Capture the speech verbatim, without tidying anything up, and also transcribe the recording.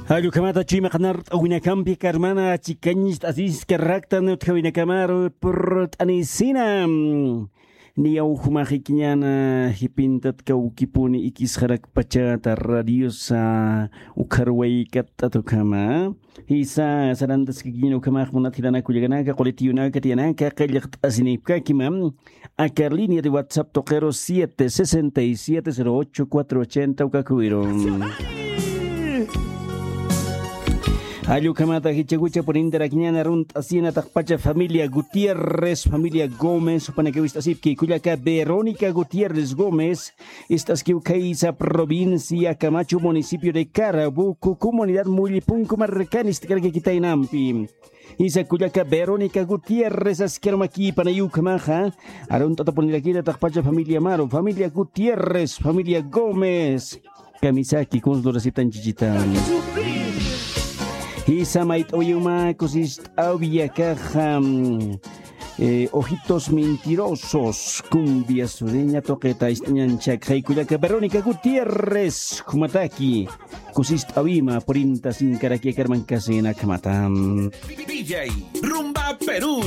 Jall ukhamata chuyma qanart'awinakampi karmana chikañcht'asiskaraktan utjawinakamaru purt'anisina. Niyaw jumaxikiñana jipintat kawkipuni ikisxarakpachata radiosa ukharwaykatt'at ukhama. Jisa sarantaskikiñana ukhamax munat jilanakullakanaka qulitiyunaka tiyanaka qillqt'asinipkakima. Aka línea de WhatsApp tuqiru siete sesenta y siete cero ocho cuatro ochenta ukakuwiru. Jall ukhamata jichhakucha purintarakiñana arunt'asina taqpacha familia Gutiérrez, familia Gómez, jupanaka wist'asipki kullaka Verónica Gutiérrez Gómez, ist'askiw khaysa provincia Camacho, municipio de Carabuco, comunidad Mullipunku markan ist'karakikitaynampi. Jisa kullaka Verónica Gutiérrez askirmakïpanay ukhamaxa. Arunt'atapunirakita taqpacha familia Maru, familia Gutiérrez, familia Gómez. Kamisaki kunslurasiptan chichita. Jisa mayt'awiyuma kusist'awiyakaxa. Eh, ojitos mentirosos, cumbia sureña tuqita ist'añanchak jay kullaka Verónica Gutiérrez jumataki. Kusist'awima purinta sinkaraki akarman kasina khamata. Villay, Rumba Perú.